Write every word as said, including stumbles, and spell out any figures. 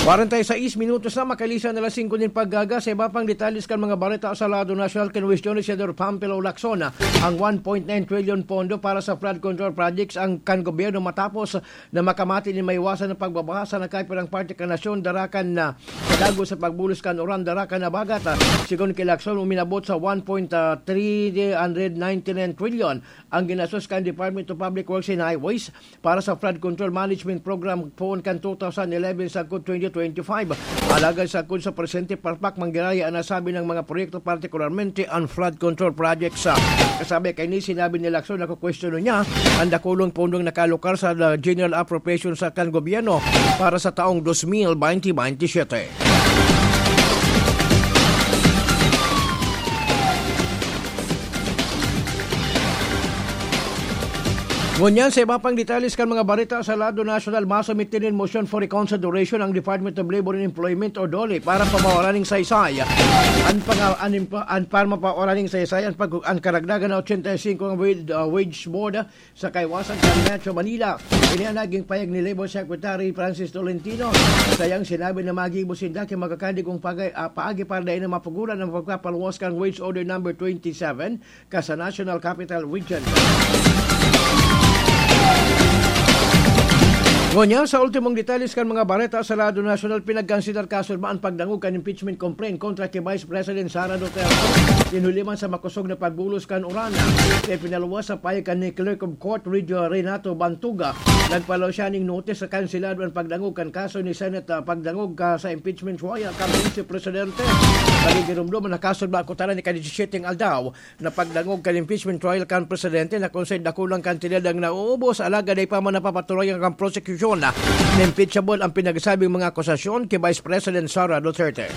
Kwarenta y seis minutos na makalisan na alas singko nin paggaga. Sa iba pang detalles kan mga bareta sa lado nasyonal, kinwestiyon ni Senador Pampilo Lacson ang one point nine trillion pondo para sa flood control projects ang kan gobyerno matapos na makamati nin maiwasan ang pagbabaha sa nagkapirang parte kan nasyon, darakan na dagos sa pagbulos kan uran, darakan na bagat. Sigon ki Lacson, uminabot sa one point three ninety-nine trillion ang ginastos kan Department of Public Works and Highways para sa Flood Control Management Program poon kan two thousand eleven sagkod twenty twenty-five. Alagad sagkod sa presente, palpak manggiraya ang nasabi ng mga proyekto, partikularmente ang flood control projects. Kasabi kaini, sinabi ni Lacson na kukwestiyonon niya ang dakulong pondong nakalokal sa General Appropriation sa kan gobyerno para sa taong dos mil baynte baynte siyete. Ngunyan, sa iba pang detalles kan mga bareta sa lado nasyonal, masumit nin motion for reconsideration ang Department of Labor and Employment o DOLE para papawaran ning saysay an panga-, an impa-, an para mapawaran ning saysay an pag-, an karagdagan na ochenta y singko ang wage, ah, wage board sa kaiwasan sa Metro Manila. Ini ang naging pahayag ni Labor Secretary Francis Tolentino. Sayang sinabi na magibo sinda ki magkakadi kung pagay, ah, paagi para dai na mapuguran ang pagpapaluwas kan Wage Order number twenty-seven ka sa National Capital Region. Ngunyan, sa ultimong detalles kan mga bareta sa lado nasyonal, pinagkansilar kasunod an pagdangog kan impeachment complaint kontra ki Vice President Sara Duterte. Tinuli man sa makosog na pagbulos kan uran, kaya pinaluwas sa pahayag kan ni Clerk of Court Ridge Renato Bantuga. Nagpalaw siya ning notis sa kansilado an pagdangog kan kaso ni Senate, ah, pagdangog ka sa impeachment trial kan Vice Presidente. Nagigirumdom na kaso ba kutana ni ka-disisyete aldaw na pagdangog kan impeachment trial kan presidente na kung saan dakulang kantidad ang nauubos, alagad ay pa man napapatunayan kan prosekusyon na impeachable ang pinagsabing mga akusasyon ki Vice President Sara Duterte.